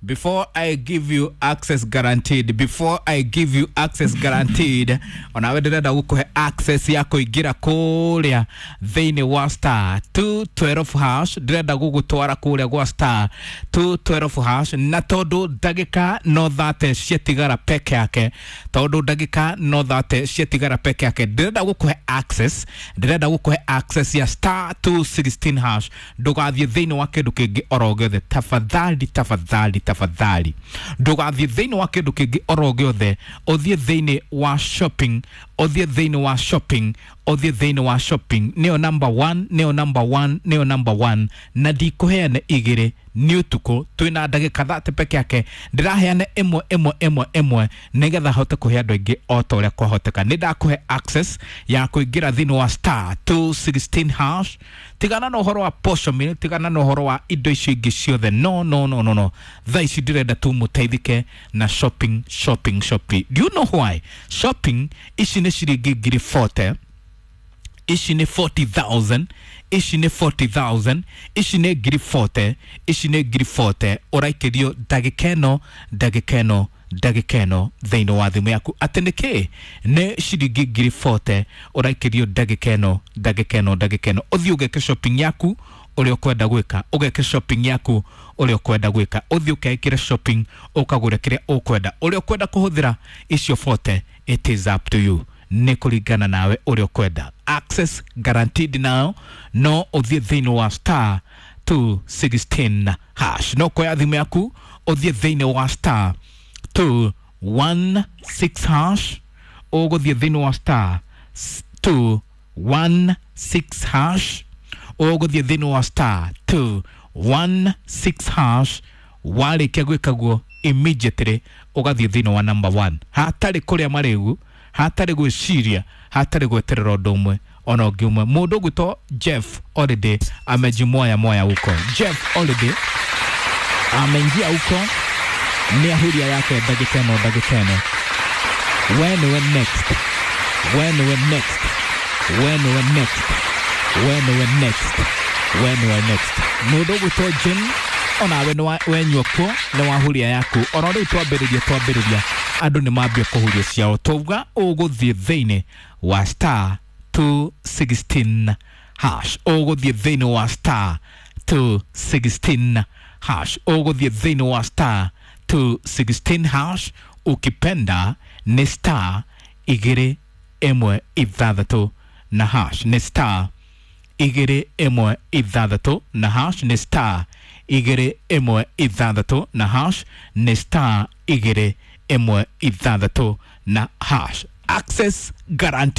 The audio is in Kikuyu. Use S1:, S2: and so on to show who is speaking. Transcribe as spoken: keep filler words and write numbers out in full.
S1: Before I give you access guaranteed, before I give you access guaranteed, onawe ndĩrenda gũkũhe access ya kũingĩra kũrĩa thĩinĩ wa star two twelve hash. Ndĩrenda gũgũtwara kũrĩa gwa star two twelve hash, na tondũ ndagĩka no thate ciatigara peke yake, tondũ ndagĩka no thate ciatigara peke yake, ndĩrenda gũkũhe access, ndĩrenda gũkũhe access ya star two sixteen hash. Ndũgathiĩ thĩinĩ wa kĩndũ kĩngĩ oro gĩothe, tafadhali, tafadhali, tafadhali, ndũgathiĩ thĩinĩ wa kĩndũ kĩngĩ oro gĩothe, ũthiĩ thĩinĩ wa shopping, ũthiĩ thĩinĩ wa shopping, ũthiĩ thĩinĩ wa shopping. Nĩyo number one, nĩyo number one, nĩyo number one, na ndikũheane igĩrĩ nĩ ũtukũ twĩna ndagĩka thate peke yake, ndĩraheana ĩmwe ĩmwe ĩmwe ĩmwe nĩgetha hote kũhe andũ aingĩ o ta ũrĩa kwahoteka. Nĩ ndakũhe access ya kũingĩra thĩinĩ wa star two sixteen hash. Tigana na ũhoro wa posho mill, tigana na ũhoro wa indo icio ingĩ ciothe, no no no no no, thaa ici ndĩrenda tu mũteithĩke na shopping, shopping, shopping. Do you know why shopping? Ici nĩ ciringi ngiri forty, ici nĩ forty thousand, ici nĩ forty thousand, ici nĩ ngiri forty, ici nĩ ngiri forty. Ũraikĩrio ndagĩka ĩno, ndagĩka ĩno, ndagĩka ĩno thĩinĩ wa thimũ yaku. Atĩ nĩ kĩ? Nĩ ciringi ngiri forty ũraikĩrio ndagĩka ĩno, ndagĩka ĩno, ndagĩka ĩno. Ũthiĩ ũgeke shopping yaku ũrĩa ũkwenda gwĩka, ũgeke shopping yaku ũrĩa ũkwenda gwĩka, ũthiĩ ũkeĩkĩre shopping, ũkagũre kĩrĩa ũkwenda, ũrĩa ũkwenda kũhũthĩra icio forty, it is up to you, nĩ kũringana nawe ũrĩa ũkwenda. Access guaranteed now, no ũthiĩ thĩinĩ wa star two sixteen hash, no kuoya thimũ yaku ũthiĩ thĩinĩ wa star two one six hash, ũgũthiĩ thĩinĩ wa star two one six hash, ũgũthiĩ thĩinĩ wa star two one six hash. Warĩkia gwĩka guo immediately ũgathiĩ thĩinĩ wa number one, hatarĩ kũrĩa marĩgu, hatarĩ gwĩciria, hatarĩ gweterera ũndũ ũmwe ona ũngĩ ũmwe. Mũndũ ũgwĩtwo Jeff already amejimoya moya huko. Jeff already ameingia huko, nĩ ahuria yake ndagĩka ĩno, ndagĩka ĩno. We nĩwe next, we nĩwe next, we nĩwe next, we nĩwe next, we nĩwe next. Mũndũ ũgwĩtwo Jim onawe nĩ wenyua kuo, nĩ wahuria yaku. Ona rĩu twambĩrĩria, twambĩrĩria andũ nĩ mambia kũhuria ciao. Twauga ũgũthiĩ thĩinĩ wa star two sixteen hash, ũgũthiĩ thĩinĩ wa star two sixteen hash, ũgũthiĩ thĩinĩ wa star two sixteen hash. Ukipenda nĩ star igĩrĩ ĩmwe ithathatũ na hash, nĩ star igĩrĩ ĩmwe ithathatũ na hash, nĩ star igĩrĩ ĩmwe ithathatũ na hash, nĩ star igĩrĩ ĩmwe ithathatũ na hash. Access guarantee.